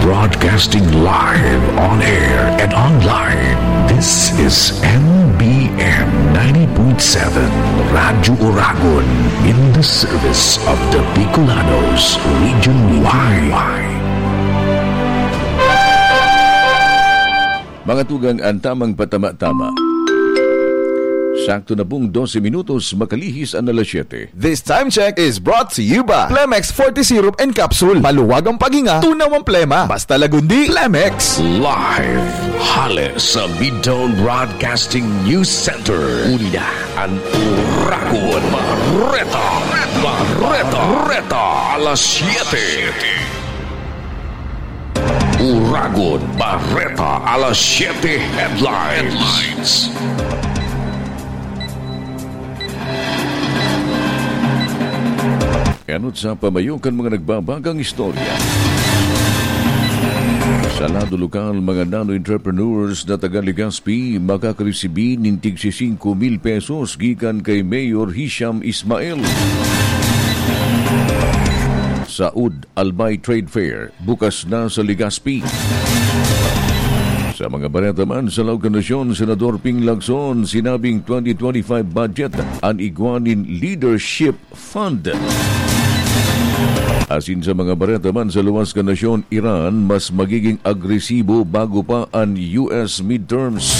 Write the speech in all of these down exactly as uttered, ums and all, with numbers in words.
Broadcasting live on air and online. This is M B M ninety point seven Radyo Oragon, in the service of the Bicolanos region wide. Mga tugang, ang tamang patama-tama. Sakto na pong dose minutos, makalihis an alas siyete. This time check is brought to you by Plemex forty Syrup and Capsule. Maluwag ang paghinga, tunaw ang plema. Basta Lagundi, Plemex. Live hale sa Midtown Broadcasting News Center. Uli na an Oragon Bareta. Bareta. Bareta. Alas siyete. Oragon Bareta, alas siyete headlines. Enot sa pamayo kan mga nagbabagang istorya. Sa lado lokal, mga nano entrepreneurs na taga Legazpi makakaresibi nin tig singko mil pesos gikan kay Mayor Hisham Ismail. Sa U D, Albay Trade Fair, bukas na sa Legazpi. Sa mga bareta man, sa laog kan nasyon, Senador Ping Lacson sinabing twenty twenty-five budget an igwa nin Leadership Fund. Asin sa mga bareta man, sa luwas kan nasyon, Iran mas magiging agresibo bago pa an U S midterms.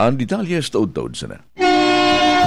Ang detalye sa taod-taod sana.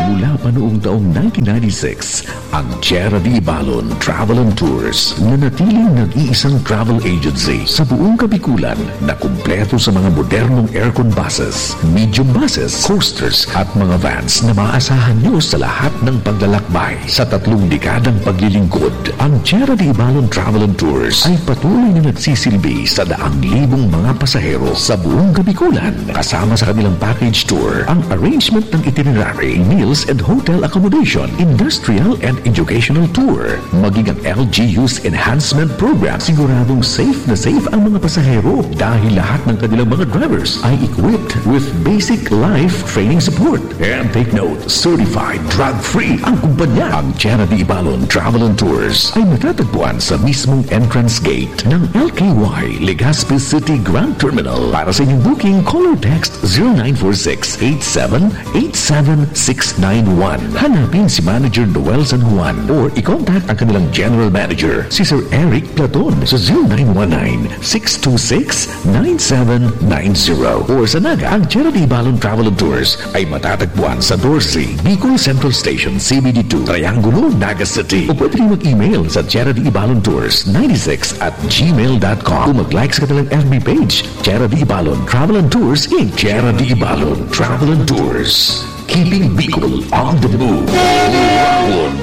Mula pa noong taong nineteen ninety-six, ang Tierra de Ibalon Travel and Tours nanatiling nag-iisang travel agency sa buong Kabikulan na kumpleto sa mga modernong aircon buses, medium buses, coasters at mga vans na maaasahan nyo sa lahat ng paglalakbay. Sa tatlong dekadang paglilingkod, ang Tierra de Ibalon Travel and Tours ay patuloy na nagsisilbi sa daang libong mga pasahero sa buong Kabikulan, kasama sa kanilang package tour, ang arrangement ng itinerary, meals and hotel accommodation, industrial and educational tour, maging ang L G U's enhancement program. Siguradong safe na safe ang mga pasahero dahil lahat ng kanilang mga drivers ay equipped with basic life training support. And take note, certified drug-free ang kumpanya. Ang Tierra de Ibalon Travel and Tours ay matatagpuan sa mismong entrance gate ng L K Y Legazpi City Grand Terminal. Para sa inyong booking, call or text zero nine four six eight seven eight seven six nine one. Hanapin si Manager Noel San Juan or i-contact ang kanilang General Manager, si Sir Eric Platon, sa zero nine one nine six two six nine seven nine zero. Or sa Naga, ang Tierra de Ibalon Travel and Tours ay matatagpuan sa doce, Bicol Central Station, C B D two, Triangulo, Naga City. O pwede rin mag-email sa tierra de ibalon tours ninety-six at gmail dot com. O mag-like sa kanilang F B page, Tierra de Ibalon Travel and Tours, Inc. Tierra de Ibalon Travel and Tours. Keeping Bicol on the move. Uragon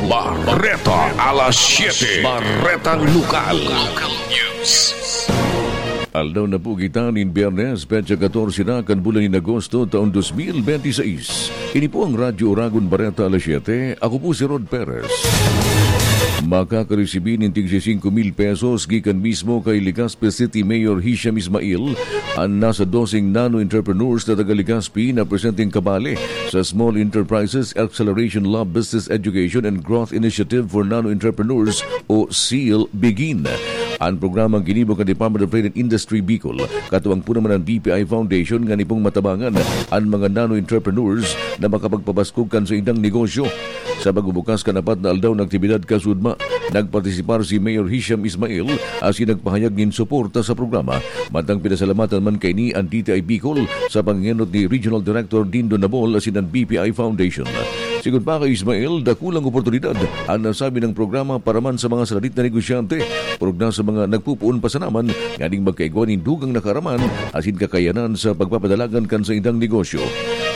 Bareta, alas siyete. Baretang Lokal. Local News. Aldaw na po kita nin Biyernes, petsa katorse na kan bulan nin Agosto, taon dos mil benti seis. Ini po ang Radyo Uragon Bareta, alas siyete. Ako po si Rod Perez. Makakaresibi nin tig singko mil pesos gikan mismo kay Legazpi City Mayor Hisham Ismail an nasa doseng nano entrepreneurs na taga Legazpi na presenteng kabale sa Small Enterprises Acceleration Lab Business Education and Growth Initiative for Nano Entrepreneurs o seal, Begin. An programang ginibo kan Department of Trade and Industry Bicol, katuwang po naman ang B P I Foundation, ngani pong matabangan an mga nano entrepreneurs na makapagpabaskog kan saindang negosyo. Sa pagbubukas kan apat na aldaw na aktibidad kasudma, nagpartisipar si Mayor Hisham Ismail asin nagpahayag nin suporta sa programa. Mantang pinasalamatan man kaini an D T I Bicol sa pangenot ni Regional Director Dindo Nabol asin an B P I Foundation. Sigon pa kay Ismail, dakulang oportunidad an nasabi ng programa para man sa mga saradit na negosyante, purog na sa mga nagpupuon pa sana man nganing magkaigwa nin dugang na kaaraman asin kakayanan sa pagpapadalagan kan saindang negosyo.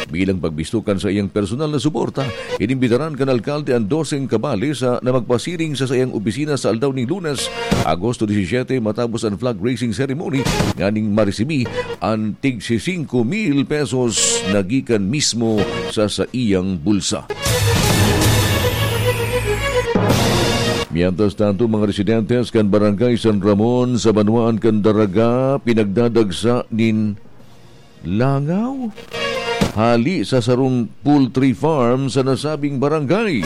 Bilang pagbisto kan saiyang personal na suporta, inimbitaran kan alkalde an doseng kabale sa na magpasiring sa saiyang opisina sa aldaw ning Lunes, Agosto disisiyete, matapos an flag raising ceremony, nganing maresibi an tig singko mil pesos na gikan mismo sa saiyang bulsa. Mientras tanto, mga residentes kan Barangay San Ramon sa banwaan kan Daraga pinagdadagsa nin langaw hali sa sarong poultry farm sa nasabing barangay.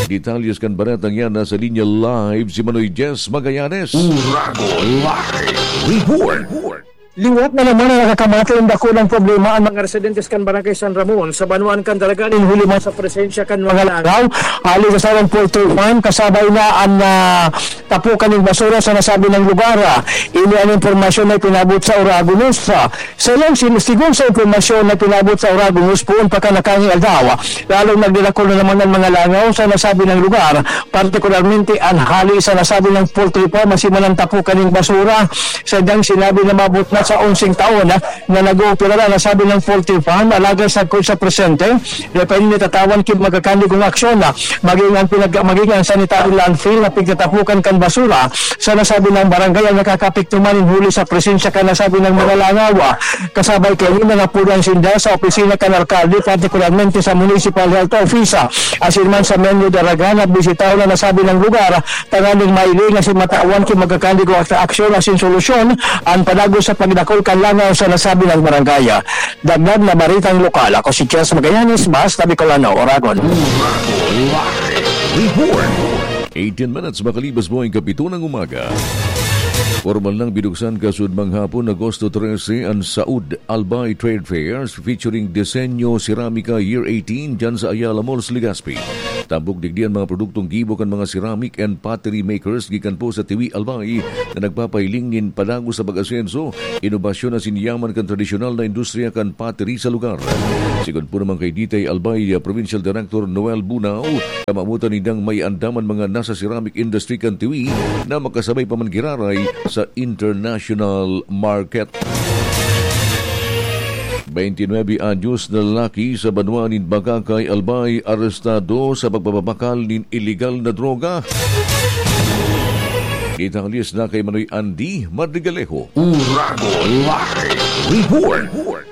Detalyes kan baretang yan, nasa linya live si Manoy Jess Magallanes. Uragon Live Report. Liwat na naman na nakakamatay ang dakulang problema ang mga residentes kan Barangay San Ramon sa banwaan kan Daraga nin huli man sa presensya kan mga langaw hali sa sarong poultry farm, kasabay na an, ah, tapukan nin basura sa nasabing lugar. Ini an impormasyon na ipinabot sa Uragon News. Sa iyang sin-, sigon sa impormasyon na ipinabot sa Uragon News poon pa kan nakanging aldaw, lalong nagdadakul na naman an mga langaw sa nasabing lugar, partikularmente an hali sa nasabing poultry farm asin man an tapukan nin basura. Sadyang sinabi na maabot na sa onseng taon na nag-oopera na nasabing poultry farm, alagad sagkod sa presente, dai pa ini natatawan ki magkakandigong aksyon, maging an pinag-, maging an sanitary landfill na pigtatapukan kan basura sa nasabing barangay an nakakaapekto man nin huli sa presensya kan nasabing mga langaw. Kasabay kaini, nangapulan sinda sa opisina kan alkalde, partikularmente sa Municipal Health Office, asin man sa Menlo Daraga, na bisitahon an nasabing lugar tanganing mailing asin matawan ki magkakandigong ak-, aksyon asin solusyon an padagos sa pagdakul kan langaw sa nasabing barangay. Dagdag na baretang lokal, ako si Chels Magallanes, Basta Bicolano, Oragon. Report. Eighteen minutes makalipas po ang kapito ng umaga. Formal nang binuksan kasud manghapon, Agosto trese, an Saud Albay Trade Fairs featuring Disenyo Ceramika Year eighteen dyan sa Ayala Malls, Legazpi. Tampok digdi an mga produktong gibo kan mga ceramic and pottery makers gikan po sa Tiwi, Albay, na nagpapahiling nin padagos sa pag-asenso, inobasyon asin yaman kan tradisyonal na industriya kan pottery sa lugar. Sigon po naman kay D T I Albay, ah, Provincial Director Noel Bunao, kamamutan nindang may andaman mga nasa ceramic industry kan Tiwi na makasabay pa man giraray sa international market. Twenty-nine anyos na lalaki sa banwa nin Bacacay, Albay, arestado sa pagpapabakal nin iligal na droga. Detalyes na kay Manoy Andy Madrigalejo. Uragon Live Report.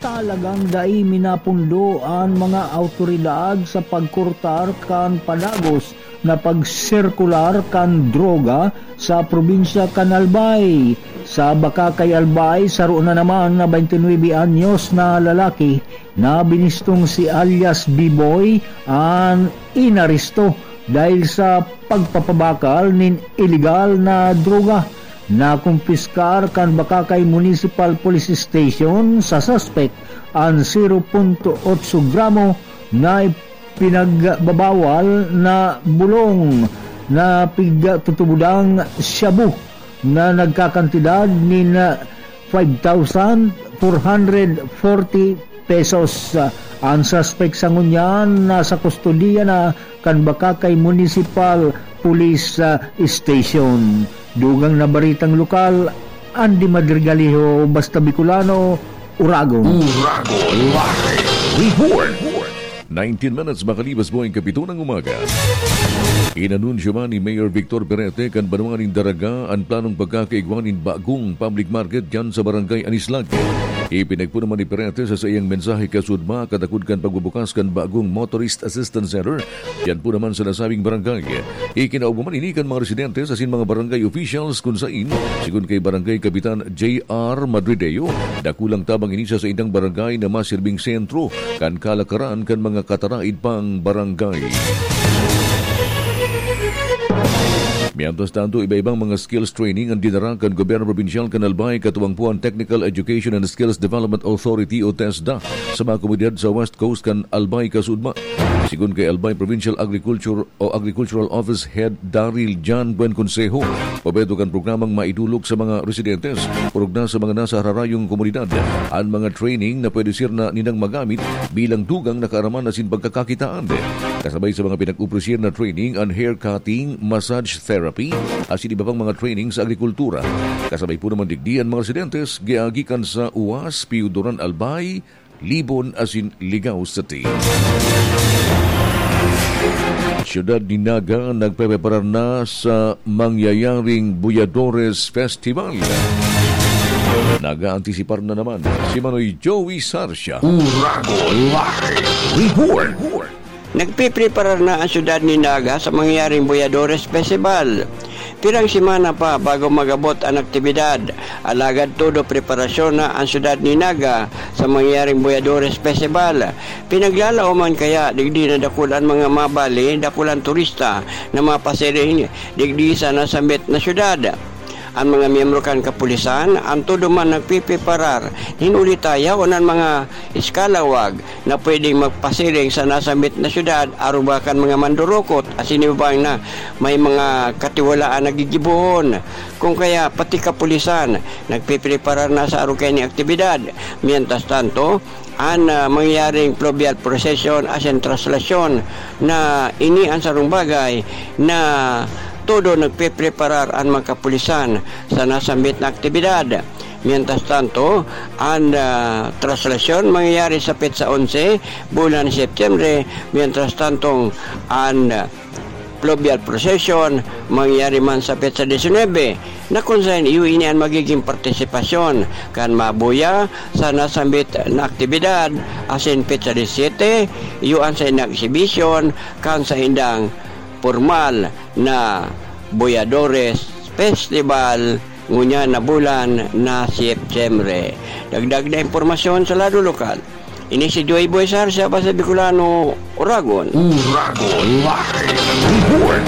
Talagang dai minapundo an mga awtoridad sa pagkortar kan padagos na pagsirkular kan droga sa probinsya kan Albay. Sa Bacacay, Albay, saro na naman na twenty-nine anyos na lalaki na binistong si alias Biboy an inaresto dahil sa pagpapabakal nin iligal na droga. Nakumpiskar kan Bacacay Municipal Police Station sa suspek an zero punto otso gramo na pinagbabawal na bulong na pigtutubodang shabu na nagkakantidad nin five thousand four hundred forty pesos. Ang suspek sa ngunyan nasa kustodiya na kan Bacacay Municipal Police, ah, Station. Dugang na baritang lokal, Andy Madrigaliho, Basta Bicolano, Uragon. Uragon Live Report. Nineteen minutes makalipas po ang kapito ng umaga. Inanunsyo man ni Mayor Victor Perete kan banwa nin Daraga an planong pagkakaigwa nin bagong public market diyan sa Barangay Anislag. Ipinagpuna man ni Perete sa saiyang mensahe kasudma katakod kan pagbubukas kan bagong Motorist Assistance Center diyan po naman sa nasabing barangay. Ikinaob man ini kan mga residentes asin mga barangay officials kun sain, sigon kay Barangay Kapitan J R Madrideo, dakulang tabang ini sa saindang barangay na masirbing sentro kan kalakaran kan mga kataraid pang barangay. Mientras tanto, iba-ibang mga skills training ang dinara kan gobyerno probinsyal kan Albay, katuwang po ang Technical Education and Skills Development Authority o TESDA, sa mga komunidad sa West Coast kan Albay kasudma. Sigon kay Albay Provincial Agriculture o Agricultural Office Head Daryl John Buen Consejo, obheto kan programang maidulog sa mga residentes, orog na sa mga nasa hararayong komunidad, an mga training na pwede sira na nindang magamit bilang dugang na kaaraman asin pagkakakitaan. Kasabay sa mga pinag-opresir na training, an hair cutting, massage therapy, asin iba pang mga training sa agrikultura. Kasabay po naman digdi an mga residentes, giagikan sa Uas, Pio Duran Albay, Libon asin Ligao City. Siyudad ni Naga nagpepreparar na sa mangyayaring Buyadores Festival. Nag-aantisipar na naman si Manoy Joey Sarsia. Uragon Live Report. Nagpipreparar na ang siyudad ni Naga sa mangyayaring Buyadores Festival. Pirang semana pa bago mag-abot an aktibidad, alagad todo preparasyon na an syudad ni Naga sa mangyayaring Boyadores Festival. Pinaglalaoman kaya digdi na dakul an mga mabali, dakul an turista na mapasiring digdi sa nasambit na syudad. An mga miyembro kan kapulisan, an todo man nagpipreparar, hinuli ta yaon an mga eskalawag na pwedeng magpasiring sa nasambit na syudad, aruga kan mga mandurukot asin iba pang na may mga katiwalaan na gigibohon. Kung kaya, pati kapulisan nagpipreparar na sa arog kaini aktibidad. Mientras tanto, an, ah, mangyayaring fluvial procession asin traslasyon na ini an sarong bagay na todo nagpepreparar an mga kapulisan sa nasambit na aktibidad. Mientras tanto, an, ah, traslasyon mangyayari sa petsa onse, bulan Setyembre, mientras tantong an, ah, fluvial procession mangyayari man sa petsa disinuyebe, na kun saen iyo ini an magiging partisipasyon kan mabuya sa nasambit na aktibidad, asin petsa disisete, iyo an saindang eksibisyon kan saindang pormal na Boyadores Festival ngunyan na bulan na Setyembre. Dagdag na impormasyon sa lado lokal. Ini si Joy Boy Sar, siya pa sa Bicolano, Oragon. Oragon Live Report.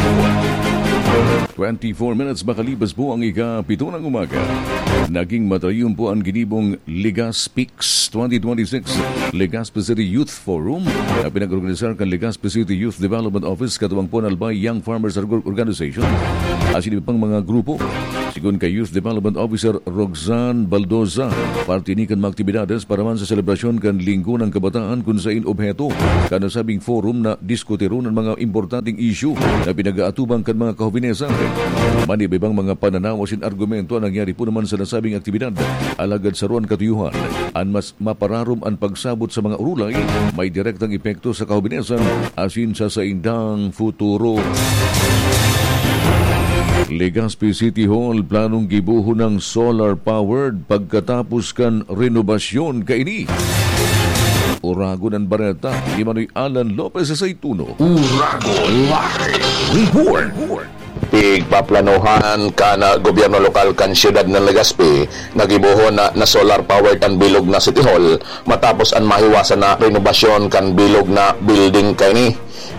Twenty-four minutes makalipas po ang ika-pito ng umaga. Naging matayon po ang ginibong Legazpi Weeks twenty twenty-six Legazpi City Youth Forum na pinag-organisar kan Legazpi City Youth Development Office katuwang po an Albay Young Farmers Org-, Organization asin iba pang mga grupo. Sigon kay Youth Development Officer Roxanne Baldoza, parte ini kan mga aktibidades para man sa selebrasyon kan Linggo ng Kabataan kun sain obheto kan nasabing forum na diskutiron an mga importanteng isyu na pinag-aatubang kan mga kahobinesan. Maniba-ibang mga pananaw asin argumento an nangyari po naman sa nasabing aktibidad. Alagad saro an katuyuhan, an mas mapararom an pagsabot sa mga urulay may direktang epekto sa kahobinesan asin sa saindang futuro. Legazpi City Hall planong gibohon ng solar-powered pagkatapos kan renobasyon kaini. Oragon an bareta, ni Manoy Alan Lopez sa Saituno. Oragon Live Report. Pigpaplanuhan kan, ah, gobyerno lokal kan siyudad ng Legazpi na gibohon na, na solar powered an bilog na City Hall matapos an mahiwasan na renobasyon kan bilog na building kaini.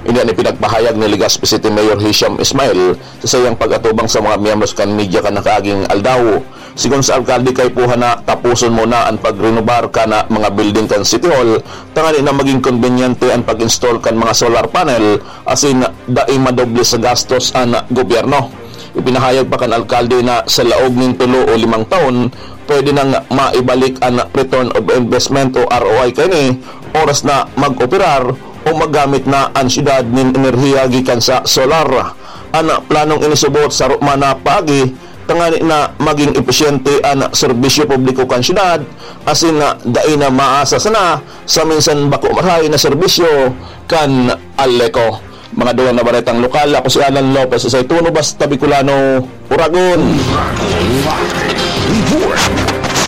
Ini an ipinagpahayag ni Legazpi City Mayor Hisham Ismail sa saiyang pag-atubang sa mga miyembros kan media kan nakaaging aldaw. Sigon sa alkalde, kaipuhan na taposon muna an pagrenobar kan mga building kan City Hall, tanganing na magin kombinyente an pag-install kan mga solar panel asin dai madoble sa gastos an gobyerno. Ipinahayag pa kan alkalde na sa laog nin tulo o limang taon, pwede nang maibalik an return of investment o R O I kaini, oras na mag-operar o maggamit na an syudad nin enerhiya gikan sa solar. An planong ini subot sa man na paagi, tanganing na maging episyente an serbisyo publiko kan syudad, asin na dai na maasa sana sa minsan bako marahay na serbisyo kan Aleco. Mga dugang na baretang lokal, ako si Alan Lopez, sa Ituno, Basta Bicolano, Oragon.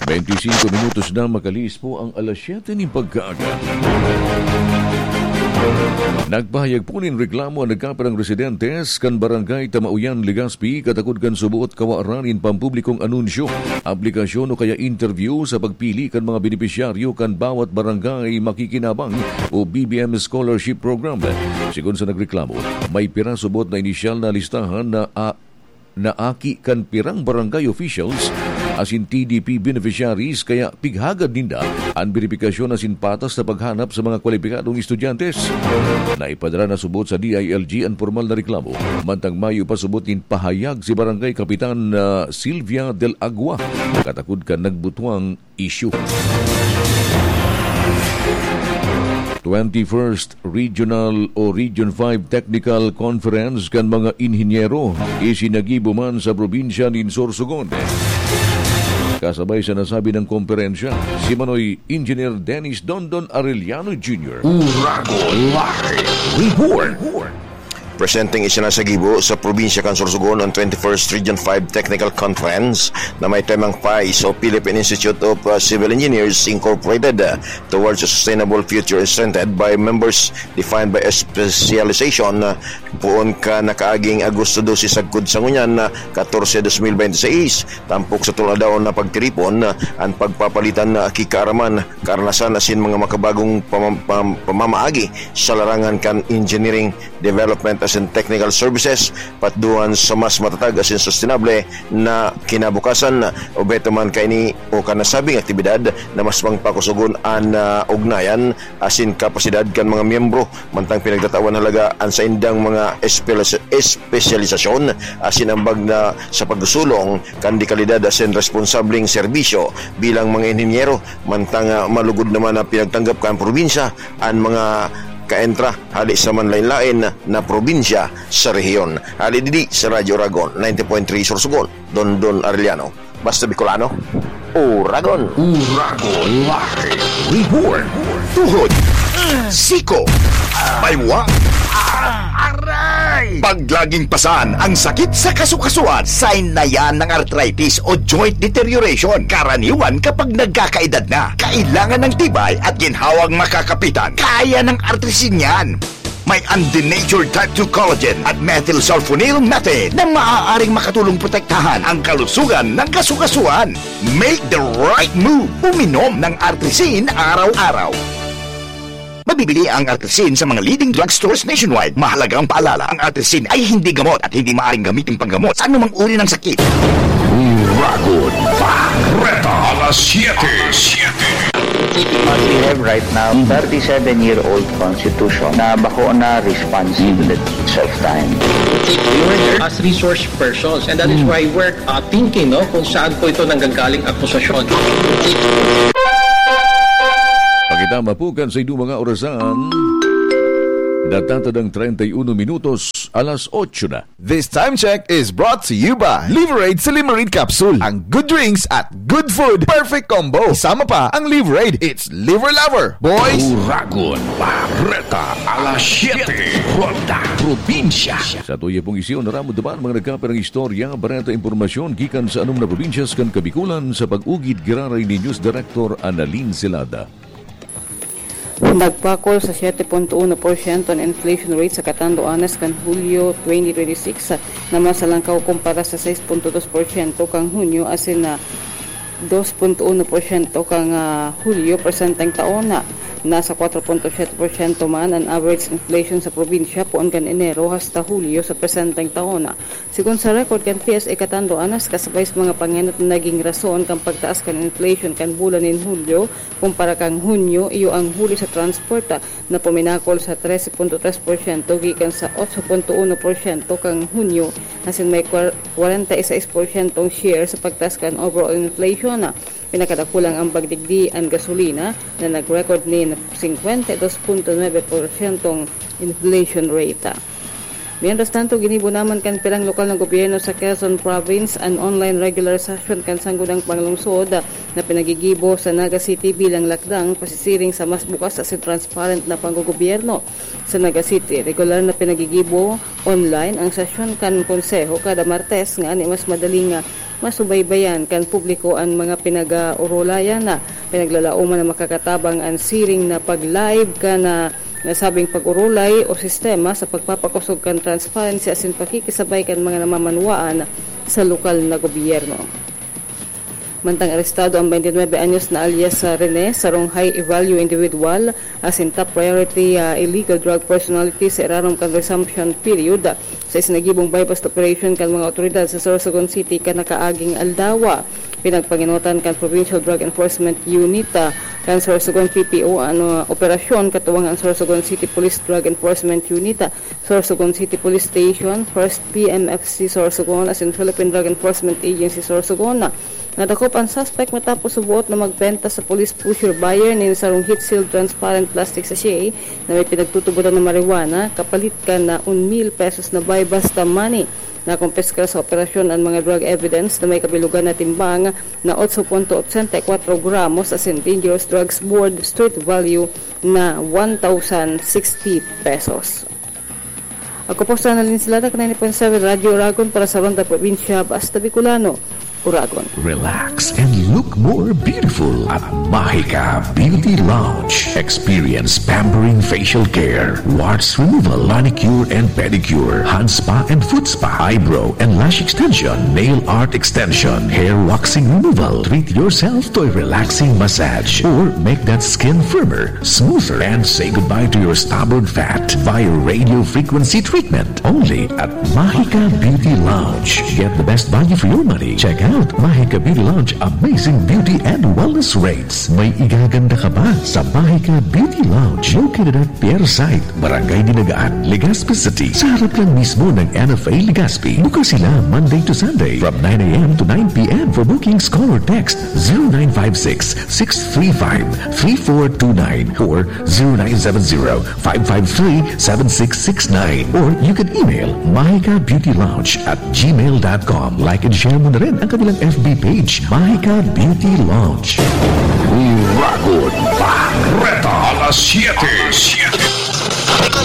Twenty-five minutos na makalihis po ang alas siyete nin pagkaaga. Nagpahayag po nin reklamo an nagkapirang residentes kan Barangay Tamauyan, Legazpi, katakod kan suboot kawaran nin pampublikong anunsyo, aplikasyon o kaya interview sa pagpili kan mga benepisyaryo kan bawat barangay makikinabang o B B M Scholarship Program. Sigon sa nagreklamo, may pira suboot na inisyal na listahan na, ah, na aki kan pirang barangay officials asin T D P beneficiaries, kaya pighagad ninda an beripikasyon asin patas na paghanap sa mga kwalipikadong estudyante. Naipadara na subot sa D I L G an pormal na reklamo, mantang mayo pa subot nin pahayag si Barangay Kapitan, ah, Sylvia Del Agua, katakod kan nagbutwang isyu. Twenty-first Regional o Region five Technical Conference kan mga inhinyero isinagibo man sa probinsya nin Sorsogon. Kasabay sa nasabi ng komperensya, si Manoy Engineer Dennis Dondon Arellano Junior. Oragon Live Report. Presenteng isinasagibo sa probinsya kan Sorsogon an twenty-first Region five Technical Conference na may temang PICE o Philippine Institute of uh, Civil Engineers Incorporated, uh, Towards a Sustainable Future, strengthened by members defined by specialization, uh, poon kan nakaaging Agosto dose sagkod sa ngunyan na katorse, dos mil bente seis, tampok sa tolong aldaw na pagtiripon, uh, an pagpapalitan na kikaaraman, karanasan asin mga makabagong pamam- pam- pamamaagi sa larangan kan engineering, development asin technical services, patduhan sa mas matatag asin sustainable na kinabukasan. Obheto man kaini o kan nasabing aktibidad na mas pangpakusogon an, ah, ugnayan asin kapasidad kan mga miyembro, mantang pinagtatawan halaga an saindang mga espelis- espesyalisasyon asin ambag na sa pagsulong kan dekalidad asin responsableng serbisyo bilang mga inhinyero, mantang, ah, malugod naman na pinagtanggap kan probinsya an mga kaentra hali sa manlain-lain na probinsya sa rehiyon. Hali didi sa Radyo Oragon, ninety point three Sorsogon, Dondon Arellano. Basta Bicolano, Oragon. Oragon Live Report. Tuhod, siko, baywa, aray! Pag laging pasan ang sakit sa kasukasuan, sign na yan ng arthritis o joint deterioration. Karaniwan kapag nagkakaedad na, kailangan ng tibay at ginhawang makakapitan. Kaya ng Artrisin yan. May undenatured type two collagen at methylsulfonyl methane na maaaring makatulong protektahan ang kalusugan ng kasukasuan. Make the right move. Uminom ng Artrisin araw-araw. Mabibili ang Artrisin sa mga leading drugstores nationwide. Mahalagang paalala, ang Artrisin ay hindi gamot at hindi maaaring gamitin panggamot sa anumang uri ng sakit. Uragon Bareta, alas siyete. What we have right now, thirty-seven-year-old constitution na bako na responsive to the needs of time. As resource persons, and that is why we're, uh, thinking, no, kung saan po ito nanggagaling akusasyon. Pakitama po kan sa inyong mga orasan. Natatadang treinta y uno minutos, alas otso na. This time check is brought to you by Liverade Silimarin Capsule. Ang good drinks at good food, perfect combo. Isama pa ang Liverade. It's Liver Lover, boys. Uragon Bareta, alas siyete, Ronda, Probinsya. Sa tuya pong isyu, naramod naman mga nagkapirang istorya, bareta, impormasyon gikan sa anom na probinsyas kan Kabikulan sa pag-ugid giraray ni News Director Annalyn Celada. Nagbakol sa siyete punto uno porsyento an inflation rate sa katanduanes kan Hulyo twenty twenty-six, na mas halangkaw kumpara sa sais punto dos porsyento kan Hunyo asin na dos punto uno porsyento kan, ah, Hulyo presenteng taon. Nasa kwatro punto siyete porsyento man an average inflation sa probinsya poon kan Enero hasta Hulyo sa presenteng taon. Sigon sa record kan P S A katanduanes, kasabay sa mga pangenot na naging rason kan pagtaas kan inflation kan bulan nin Hulyo kumpara kan Hunyo, iyo ang huli sa transport, na puminakol sa trese punto tres porsyento gikan sa otso punto uno porsyento kan Hunyo, asin may kwar-, kwarenta y seis porsyentong share sa pagtaas kan overall inflation. Pinakadakulang ambag digdi an gasolina, na nag-record nin singkwenta y dos punto nuebe porsyentong inflation rate. Mientras tanto, ginibo naman kan pirang lokal na gobyerno sa Quezon Province an online regular session kan Sangguniang Panglungsod na pinagigibo sa Naga City bilang lakdang pasisiring sa mas bukas asin transparent na panggogobyerno. Sa Naga City, regular na pinagigibo online ang sesyon kan Konseho kada Martes, ngani mas madaling, ah, masubaybayan kan publiko an mga pinag-aorolayan. Pinaglalaoman na makakatabang an siring na pag-live kan, ah, nasabing pag-orolay o sistema sa pagpapakosog kan transparency asin pakikisabay kan mga namamanwaan sa lokal na gobyerno. Mantang arestado ang twenty-nine anyos na alias, ah, Rene, sarong high value individual, asin top priority, ah, illegal drug personality sa irarom kan resumption period, ah, sa isinagibong buy-bust operation kan mga otoridad sa Sorsogon City kan nakaaging aldaw. Pinagpangenotan kan Provincial Drug Enforcement Unit, ah, kan Sorsogon P P O an, ah, operasyon, katuwang an Sorsogon City Police Drug Enforcement Unit, ah, Sorsogon City Police Station, First P M F C Sorsogon, asin Philippine Drug Enforcement Agency Sorsogon. Nadakop an suspect matapos suboot na magbenta sa police pusher buyer nin sarong heat-sealed transparent plastic sachet na may pinagtutubotan na marijuana, kapalit kan na un mil pesos na buy-bust money. Nakumpiskar sa operasyon an mga drug evidence na may kabilugan na timbang na otso punto ochenta y kwatro gramos asin dangerous drugs board street value na one thousand sixty pesos. Ako po si Annalyn Silata, ninety point seven Radyo Oragon para sa Ronda Probinsya, Basta Bicolano, Oragon. Relax and look more beautiful at Mahika Beauty Lounge. Experience pampering facial care, warts removal, manicure and pedicure, hand spa and foot spa, eyebrow and lash extension, nail art extension, hair waxing removal. Treat yourself to a relaxing massage or make that skin firmer, smoother, and say goodbye to your stubborn fat via radio frequency treatment. Only at Mahika Beauty Lounge. Get the best value for your money. Check out Mahika Beauty Lounge amazing beauty and wellness rates. May igaganda ka ba sa Mahika Beauty Lounge? Located at Pier Site, Barangay Dinagaan, Legazpi City. Sa harap lang mismo ng N F A Legazpi. Bukas sila Monday to Sunday from nine a.m. to nine p.m. For bookings, call or text zero nine five six, six three five, three four two nine or zero nine seven zero, five five three, seven six six nine. Or you can email mahika beauty lounge at gmail dot com. Like and share mo na rin ang kanilang F B page, Mahika Beauty Lounge. Uragon Barreta, alas siete.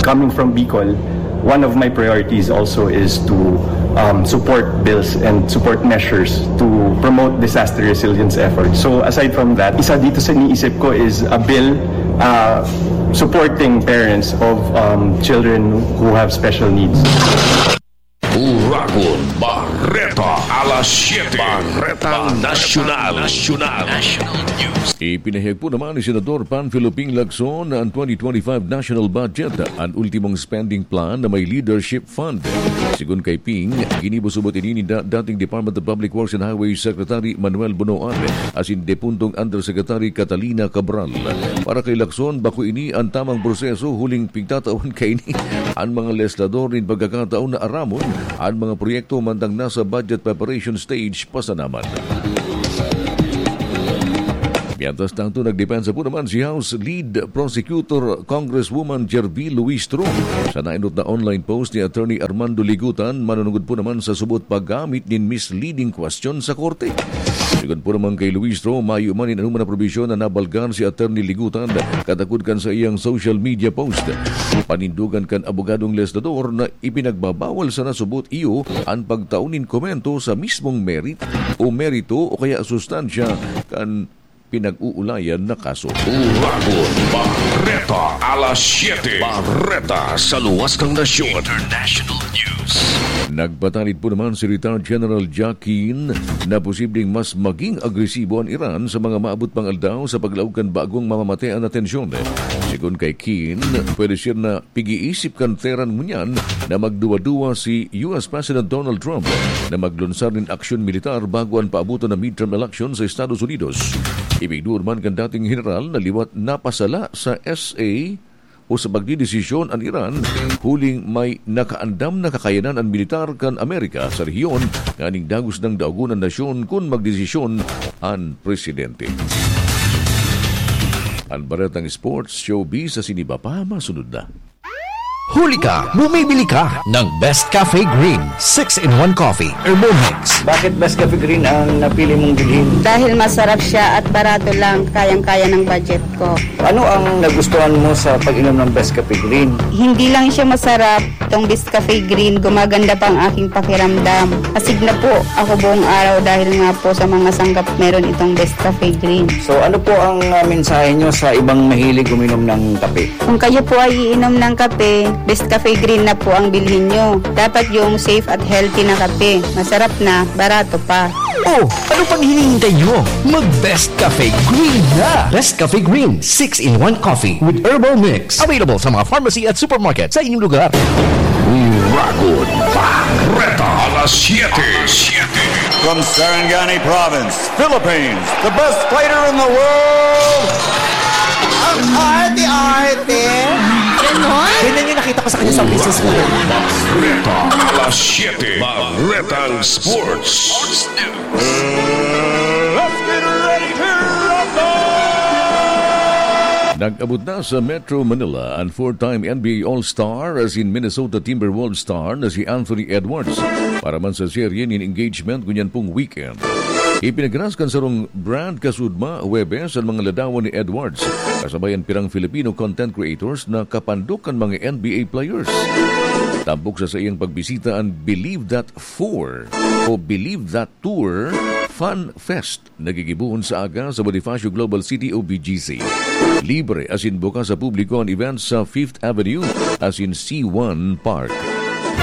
Coming from Bicol, one of my priorities also is to um, support bills and support measures to promote disaster resilience efforts. So aside from that, isa dito sa iniisip ko is a bill uh, supporting parents of um, children who have special needs. Uragon Barreta, alas siete. Barretang Nasyonal. Nasyonal. National News. Ipinahayag po naman ni Senador Panfilo Ping Lacson na ang twenty twenty-five national budget, ang ultimong spending plan na may leadership fund. Sigon kay Ping, ginibo subot ini ni da- dating Department of Public Works and Highways Secretary Manuel Bonoan asin depuntong Undersecretary Catalina Cabral. Para kay Lacson, bako ini ang tamang proseso huling pigtatawan kaini. Ang mga legislador nin pagkakataon na aramon ang mga proyekto mantang nasa budget preparation stage pa sana man. Mientras tanto, nagdepensa po naman si House Lead Prosecutor Congresswoman Gerville Luistro sa nainot na online post ni Attorney Armando Ligutan manunungod po naman sa subot paggamit nin misleading question sa korte. Sigon po naman kay Luistro, mayo man nin anuman na probisyon na nabalgar si Attorney Ligutan katakod kan sa iyang social media post. Panindogan kan abogadong legislador na ipinagbabawal sana subot iyo an pagtao nin komento sa mismong merit o merito o kaya sustansya kan pinag-uulayan na kaso. Uragon Barreta, alas siete. Barreta sa luwas ng nasyon. International News. Nagpatanid po naman si Retired General Jack Keane na posibleng mas maging agresibo an Iran sa mga maabot pang aldaw sa paglaog kan bagong mamamatean na tensyon. Sigon kay Keane, pwede siya na pig-iisip kan Tehran ngunyan na magduwa-duwa si U S President Donald Trump na maglunsar nin aksyon militar bago an paaboton na midterm election sa Estados Unidos. Ibinigduon man kan dating general na liwat napasala sa S A o sa pagdedesisyon an Iran, huling may nakaandam na kakayanan an militar kan Amerika sa rehiyon nganing dagos nang daogon an nasyon kun magdesisyon an presidente. An Baretang Sports Showbiz sa Siniba pa masunod na. Huli ka! Bumibili ka ng Best Cafe Green six-in-one Coffee Herbal Mix. Bakit Best Cafe Green ang napili mong bilhin? Dahil masarap siya at barato lang, kayang-kaya ng budget ko. Ano ang nagustuhan mo sa pag-inom ng Best Cafe Green? Hindi lang siya masarap, itong Best Cafe Green, gumaganda pa ang aking pakiramdam. Asig na po ako buong araw dahil nga po sa mga sangkap meron itong Best Cafe Green. So ano po ang uh, mensahe nyo sa ibang mahilig uminom ng kape? Kung kayo po ay iinom ng kape, Best Cafe Green na po ang bilhin nyo. Dapat yung safe at healthy na kape. Masarap na, barato pa. Oh, ano pang hinihintay nyo? Mag Best Cafe Green na! Best Cafe Green six-in-one Coffee with Herbal Mix. Available sa mga pharmacy at supermarket sa inyong lugar. Uragon Barreta, alas siete. From Sarangani Province, Philippines, the best fighter in the world, Ang arte-arte. Ganyan yung nakita ko sa kanya sa business ko. Barreta, alas siete. Barretang Sports. Let's get ready to rumble! Nag-abot na sa Metro Manila ang four-time N B A All-Star asin Minnesota Timberwolves star na si Anthony Edwards para man sa serye nin engagement ngunyan pong weekend. Ipinagras kan sarong brand kasudma Huwebes ang mga ladawan ni Edwards kasabay an pirang Filipino content creators na kapandok kan mga N B A players. Tampok sa saiyang pagbisita an Believe That four o Believe That Tour Fun Fest, nagigibohon sa aga sa Bonifacio Global City o B G C. Libre asin bukas sa publiko an event sa Fifth Avenue asin C one Park.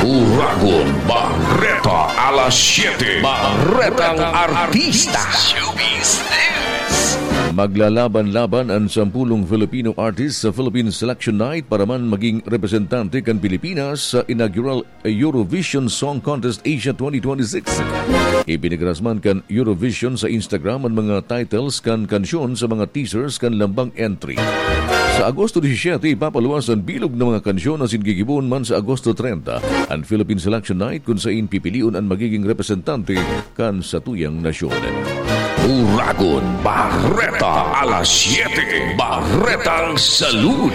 Uragon Bareta, alas siyete, Barretang Artista. Showbiz News. Maglalaban-laban an sampulong Filipino artists sa Philippine Selection Night para man maging representante kan Pilipinas sa inaugural Eurovision Song Contest Asia twenty twenty-six. Ipinagras man kan Eurovision sa Instagram an mga titles kan kansyon sa mga teasers kan lambang entry. Sa Agosto disisiete, ipapaluwas an bilog na mga kansyon asin gigibohon man sa Agosto treinta an Philippine Selection Night, kun sain pipilion an magiging representante kan satuyang nasyon. Uragon Bareta, alas siyete, Baretang Salud.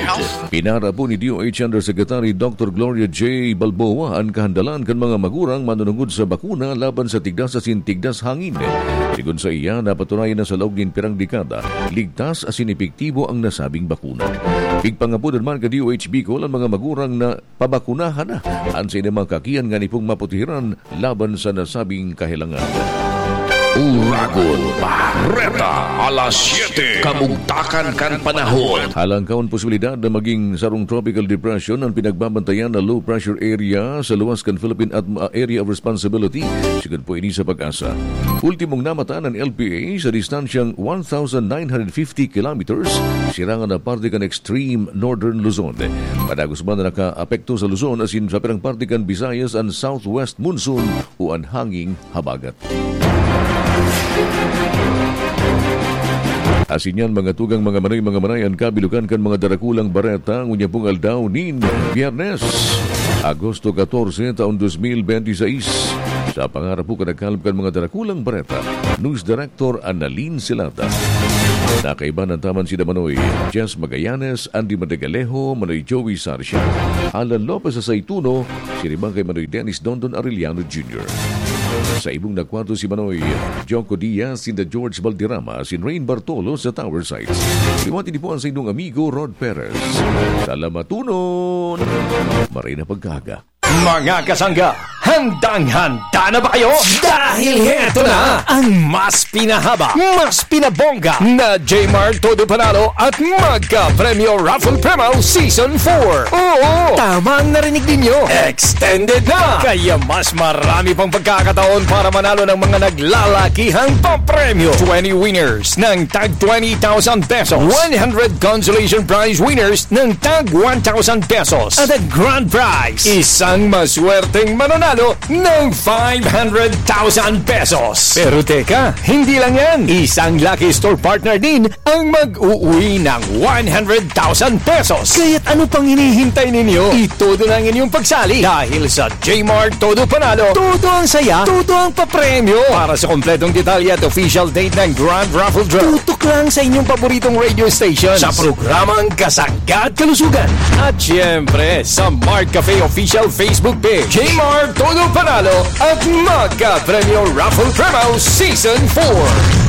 Pinara po ni D O H Undersecretary Doctor Gloria J Balboa an kahandalan kan mga magurang manunungod sa bakuna laban sa tigdas asin tigdas hangin. Sigon sa iya, napatunayan na sa laog nin pirang dekada, ligtas asin epektibo ang nasabing bakuna. Pigpangapodan man ka D O H Bicol an mga magurang na pabakunahan na an saindang mga kakian ngani pong maputihiran laban sa nasabing kahelangan. Uragon Bareta, alas siyete, kamugtakan kan panahon. Halangkaon posibilidad na maging sarong tropical depression ang pinagbabantayan na low pressure area sa luwas kan Philippine Atm-, ah, Area of Responsibility, sigon po ini sa PAGASA. Ultimong namatan an L P A sa distansyang one thousand nine hundred fifty kilometers, sirangan na parte kan extreme northern Luzon. Padagos man na nakaapekto sa Luzon asin sa pirang parte kan Visayas an southwest monsoon o an hanging habagat. Asin yan, mga tugang, mga manay, mga manay, an kabilugan kan mga darakulang bareta ngunyan pong aldaw nin Biyernes, Agosto catorce, taon dos mil benti seis. Sa pangarap po kan nagkalap kan mga darakulang bareta, News Director Annalyn Silata. Nakaiba na taman si Manoy Jess Magallanes, Andy Madagalejo, Manoy Joey Sarcia, Alan Lopez sa Saituno, siring man kay Manoy Dennis Dondon Arellano Junior. Sa ibong nagkwarto si Manoy Joko Diaz, sinda George Valderrama, si Rain Bartolo sa Tower Sites. Liwati ni po ang saindong amigo Rod Perez. Salamatunon! Maray na pagkaaga. Mga kasangga, handang-handa na ba kayo? Dahil heto na ang mas pinahaba, mas pinabongga na Jmar Todo Panalo at Magka Premyo Raffle Promo Season four. Oo, tama ang narinig ninyo. Extended na! Kaya mas marami pang pagkakataon para manalo ng mga naglalakihang papremyo. Twenty winners ng tag twenty thousand pesos. One hundred consolation prize winners ng tag one thousand pesos. At ang grand prize, isang maswerteng mananalo ng five hundred thousand pesos. Pero teka, hindi lang yan. Isang lucky store partner din ang mag-uwi ng one hundred thousand pesos. Kaya't ano pang hinihintay ninyo? Itodo na ang inyong pagsali dahil sa Jmar Todo Panalo, todo ang saya, todo ang papremyo. Para sa kompletong detalye at official date ng Grand Raffle Draw, tutok lang sa inyong paboritong radio station sa programang Kasangga at Kalusugan. At siyempre, sa Mark Cafe Official Facebook Page, Jmar Todo Panalo at Magka Premyo Raffle Promo Season four.